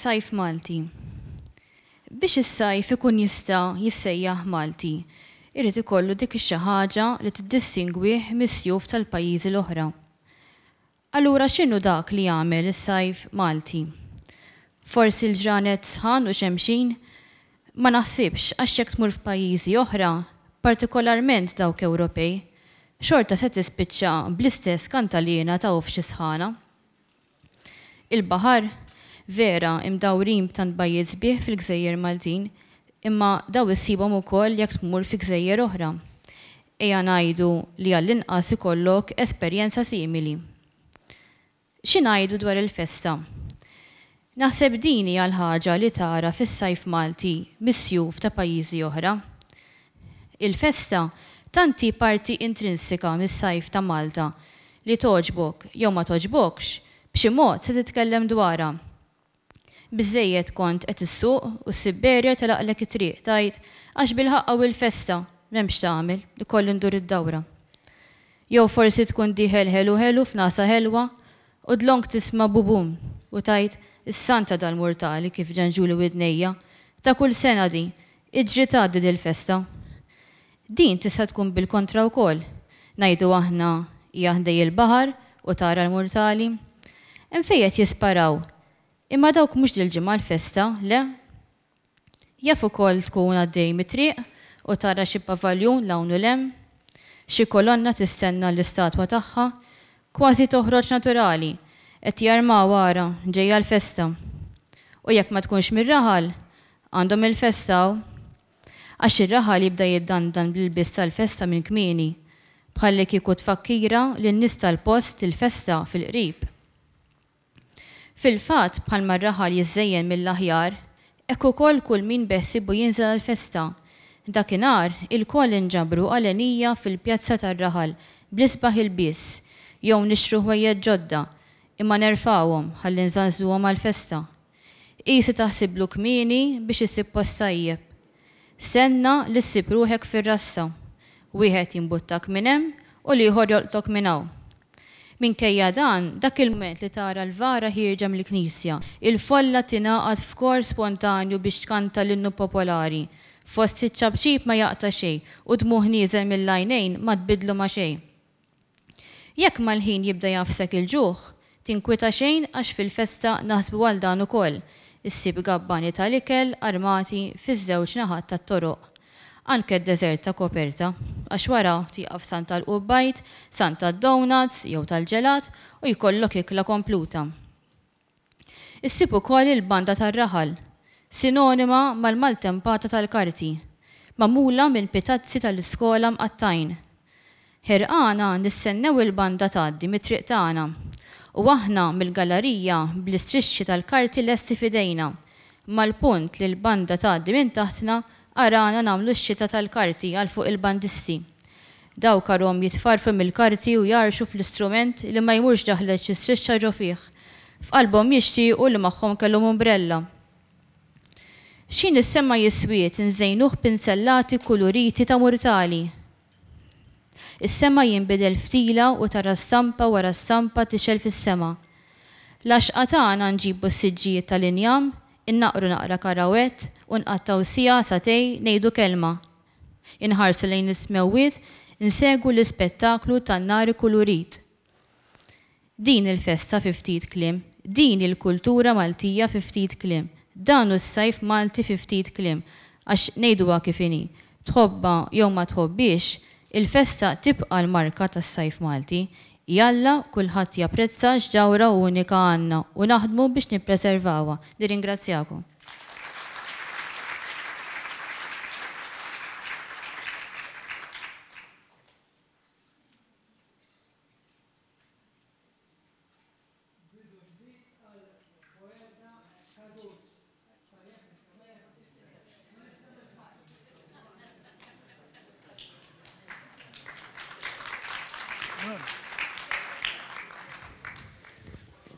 Sajf Malti. Biex is-sajf ikun jista' jissejjaħ Malti, irid ikollu dik ix-xi ħaġa li tiddistingwih mis-sjuf tal-pajjiżi l-oħra. Allura x'inhu dak li jagħmel is-sajf Malti? Forsi l-ġranet sħan u xemxin? Ma naħsibx għax jekk tmur f'pajjiżi oħra, partikolarment dawk Ewropej, xorta se tispiċċa bl-istess kantaliena ta' uff xi sħana. Il-baħar? Vera, imdawrin b'tant bajjiet sbieħ fil-gżejjer Maltin, imma daw issibhom ukoll jekk tmur fi gżejjer oħra. Ejja ngħidu li għall-inqas ikollok esperjenza simili. Xi ngħidu dwar il-festa? Naħseb din hija l-ħaġa li tara fis-sajf Malti mis-sjuf ta' pajjiżi oħra. Il-festa tant hi parti intrinsika mis-sajf ta' Malta li togħġbok jew ma togħġbokx, b'xi mod se titkellem dwarha. Biżżejjed kont qed issuq u ssib barrier telaqlek it-triq, tgħid, għax bilħaqq hawn il-festa, m'hemmx x'tagħmel, ikolli ndur id-dawra. Jew forsi tkun dieħel ħelu ħelu f'nagħsa ħelwa u dlonk tisma' bubum u tgħid, is-santa dal-murtali kif ġenġuli widnejja, ta' kull sena din, iġri tgħaddi dil-festa. Din tista' tkun bil-kontra wkoll. Ngħidu aħna hija ħdej il-baħar u tara l-murtali. Hemm fejn qed jisparaw. Imma dawk mhux dil-ġimgħa l-festa, le? Jaf ukoll tkun għaddej mit-triq u tara xi pavaljun 'l hawn u 'l hemm. Xi kolonna tistenna l-istatwa tagħha. Kważi toħroġ naturali. Qed jarmaw ara, ġejja l-festa. U jekk ma tkunx mir-raħal, għandhom il-festa hawn. Għax ir-raħal jibda jiddandan bl-ilbies tal-festa minn kmieni, bħallikieku tfakkira lin-nies tal-post li l-festa fil-qrib. Fil-fatt, bħalma r-raħal jiżżejjen mill-aħjar, hekk ukoll kull min beħsiebu jinżel għall-festa. Dakinhar, ilkoll inġabru għalenija fil-pjazza tar-raħal bl-isbaħ ilbies, jew nixtru ħwejjeġ ġodda, imma nerfgħuhom ħalli nżanżnuhom għall-festa. Qisi taħsiblu kmieni biex issib post tajjeb. Stenna li ssib ruħek fir-rassa. Wieħed jimbuttak minn hemm u l-ieħor jolqtok minn hawn. Minkejja dan, dak il-mument li tara l-vara ħierġa mill-knisja, il-folla tingħaqad f'kor spontanju biex tkanta l-innu popolari, fost iċ-ċapċip ma jaqta' xejn u dmugħ nieżel mill-għajnejn ma tbiddlu ma' xejn. Jekk mal-ħin jibda jagħfsek il-ġuħ, tinkwieta xejn għax fil-festa naħsbu għal dan ukoll, issib gabbani tal-ikel armati fiż-żewġ naħat tat-toroq. Anke d-deżert ta' koperta, għax wara tieqaf stand tal-qubbajt, stand tad-donuts jew tal-ġelat u jkollok ikla kompluta. Issib ukoll il-banda tar-raħal, sinonima mal-maltempata tal-karti, magħmula minn pitazzi tal-iskola mqattgħin. Ħerqana nistennew il-banda tgħaddi mit-triq tagħna, u aħna mill-gallarija bl-istrixxi tal-karti lesti f'idejna. Mal-punt li l-banda tgħaddi minn taħtna, arana nagħmlu x-xita tal-karti għal fuq il-bandisti. Dawk arhom jitfarfru mill-karti u jgħarrxu fl-istrument li ma jmurx daħlet xi strixxa ġo fih. F'qalbhom jixtiequ li magħhom kellhom umbrella. X'ħin is-sema jiswied inżejnuh b'pinzellati kuluriti ta' murtali. Is-sema jinbidel f'tila u tara stampa wara stampa tixgħel fis-sema. L-għaxqa tagħna nġibu s-siġġijiet tal-injam, innaqqru naqra karawett u nqattgħu siegħa sagħtejn ngħidu kelma. Inħarsu lejn is-smewwiet, insegwu l-ispettaklu tan-nar ikkulurit. Din il-festa fi ftit kliem. Din hi l-kultura Maltija fi ftit kliem. Dan hu s-sajf Malti fi ftit kliem. Għax ngħiduha kif inhi, tħobbha jew ma tħobbhiex, il-festa tibqa' l-marka tas-sajf Malti. Jalla kulħadd japprezza x'ġawhra unika għandna u naħdmu biex nippreservawha. Nirringrazzjakom.